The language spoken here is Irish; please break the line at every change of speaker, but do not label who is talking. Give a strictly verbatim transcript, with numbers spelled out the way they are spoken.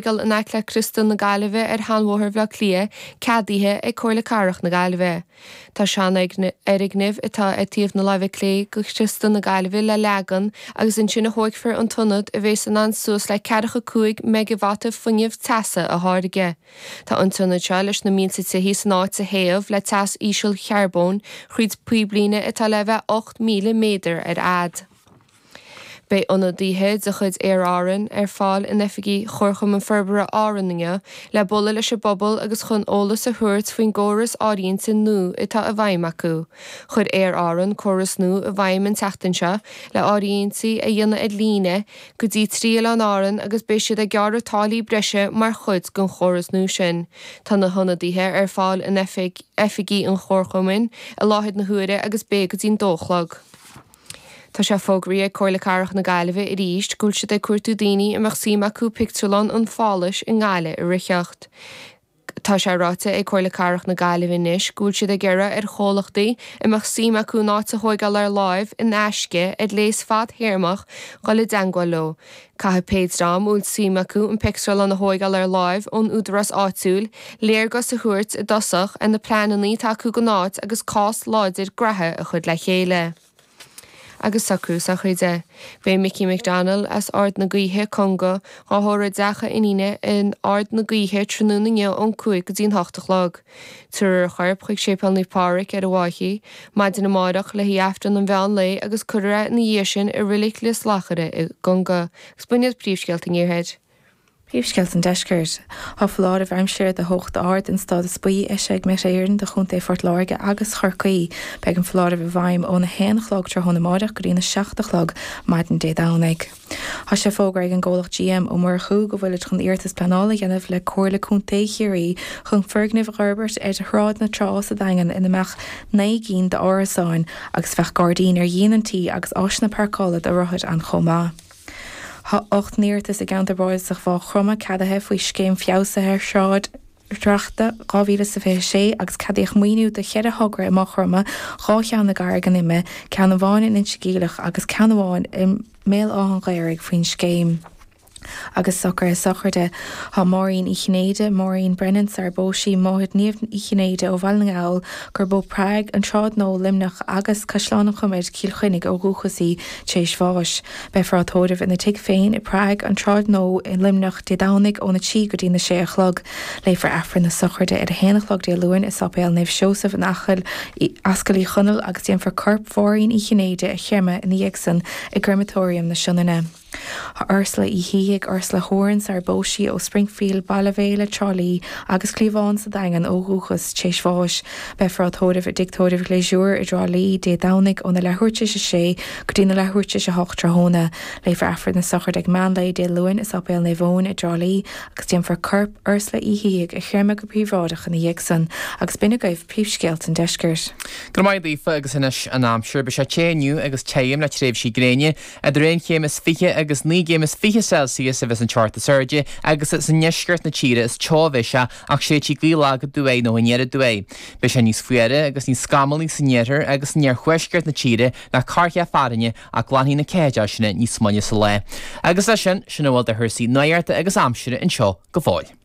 thógáil in aice le Criostal na Gaillimhe ar Sheanbhóthar Bhaile Átha Cliath ceadaithe ag Comhairle Cathrach na Gaillimhe. Tá seanfhoirgneamh atá ar taobh na láimhe clé de Chriostal na Gaillimhe le leagan agus ansin a thógfar an t-ionad a bheas in ann suas le ceathracha cúig meigeavata fuinneamh teasa a tháirgeadh. Tá an t-ionad seo leis na mílte tithe san áit a théamh le teas ísealcharbóin thríd píblíne atá le bheith ocht míle méadar ar fhad. Beidh ionadaithe de chuid Aer Arann ar fáil in oifigí Chomharchumann Forbartha Árann inniu le bualadh leis an bpobal agus chun eolas a thabhairt faoin gcóras áirithinte nua atá i bhfeidhm acu. Chuir Aer Arann córas nua i bhfeidhm an tseachtain seo le áirithintí a dhéanamh ar líne go dtí trí oileán Árann agus beidh siad ag gearradh táillí breise mar chuid den chóras nua sin. Tá na hionadaithe ar fáil in oifigí an Chomharchumainn i láthair na huaire agus beidh go dtí'n dó a chlog. Tá sé fógraithe ag Comhairle Cathrach na Gaillimhe arís go bhfuil siad ag cuartú daoine a mbeadh suim acu pictiúrlann an Pháláis i nGaillimh a ritheacht. Tá sé ráite ag Comhairle Cathrach na Gaillimhe anois go bhfuil siad ag iarraidh ar chomhlachtaí a mbeadh suim acu an áit a thóigeáil ar láimh in aisce ar léas fadthéarmach dul i dteagmháil leo. Caithfidh pé dream a bhfuil suim acu an pictiúrlann a thóigeáil ar láimh ón údarás áitiúil léargas a thabhairt i dtosach ar na pleananna atá acu don áit agus cás láidir graithe a chur le chéile. Agus socrú sochraide. Beidh Mickey McDonnell as Ard na Gaoithe, Conga, á thórramh i dteach a iníne in Ard na Gaoithe tráthnóna inniu ón cúig go dtí'n hocht a chlog. Tabharfar a chorp chuig Séipéal Naomh Pádraig ar an bhFaiche maidin amárach le haghaidh Aifreann an mheán lae agus cuirfear é ina dhiaidh sin i Reilig Lios Lachaire i gConga. Agus b'in iad príomhscéalta an Iarthair.
Príomhscéalta an Deiscirt. Tá foláireamh aimsire de theocht ard den stádas buí eisithe ag Met Éireann do Chontae Phort Láirge agus Chorcaí. Beidh an foláireamh i bhfeidhm óna haon a chlog tráthnóna amárach go dtína seacht a chlog maidin Dé Domhnaigh. Tá sé fógartha ag an gcomhlacht GM Ó Murchú go bhfuilid chun iarratas pleanála a dhéanamh le Comhairle Contae Chiarraí chun foirgneamh a fhorbairt ar Shráid na Trá sa Daingean ina mbeadh naoi gcinn d'árasáin agus bheadh gairdín ar dhíon an tí agus áiseanna páirceála do rothair ann chomh maith. Tá ocht n-iarratas i gceantar bardasach Mhaigh Chromtha ceadaithe faoi Scéim Feabhsaithe Sráid-Dreachta dhá mhíle is fiche a sé agus ceadaíodh maoiniú do cheithre thogra i Maigh Chromtha, dhá cheann i gCarraig an Ime, ceann amháin in Inse Geimhleach agus ceann amháin i mBéal Átha an Ghaorthaidh faoin scéim. Agus socruithe sochraide. Tá Máirín Uí Chinnéide, Maureen Brennan, sar bpós sí, máthair Niamh Uí Chinnéide ó Bhaile na nGall, gurb ó Prague, an tSráid Nua, Luimneach agus Caisleán an Choimid, Cill Chainnigh ó dhúchas í, tar éis bháis. Beifear á tórramh ina tigh féin i Prague, an tSráid Nua i Luimneach, Dé Domhnaigh óna trí go dtí na sé a chlog. Léifear Aifreann na sochraide ar a haon a chlog Dé Luain i Sáipéal Naomh Seosamh in Acaill, Ascaill Uí Chonaill agus déanfar corp Mháirín Uí Chinnéide a chreimeadh ina dhiaidh san i gCreamatóiriam na Sionainne. Tá Ursula Uí Shíthigh, Ursula Horan, sar bpós sí ó Springfield, Baile Bhéile, Trá Lí, agus Cliabhán sa Daingean ó dhúchas, tar éis bháis. Beifear á tórramh i dTigh Tórraimh Ghléasúr i dTrá Lí, Dé Domhnaigh óna leathuair tar éis a sé go dtí na leathuair tar éis a hocht tráthnóna. Léifear Aifreann na sochraide ag meán lae Dé Luain i Sáipéal Naomh Eoin i dTrá Lí agus déanfar corp Ursula Uí Shíthigh a chreimeadh go príobháideach ina dhiaidh san. Agus b'in agaibh príomhscéalta an deiscirt.
Go raibh maith agat Aoife agus anois an aimsir. Beidh sé te inniu agus tirim le tréimhsí gréine. Idir aon chéim is fiche agus naoi gcéim is fiche Celsius a bheas an teocht is airde agus is i ndeisceart na tíre is teo a bheidh sé ach séidfidh gaoth lag aduaidh nó aniar aduaidh. Beidh sé níos fuaire agus níos scamallaí san iarthar agus in iarthuaisceart na tíre le corrcheath fearthainne ach glanfaidh na ceathaideoidh sin níos moille sa lá. Agus leis sin, sin a bhfuil de chúrsaí nuachta agus aimsire anseo go fóill.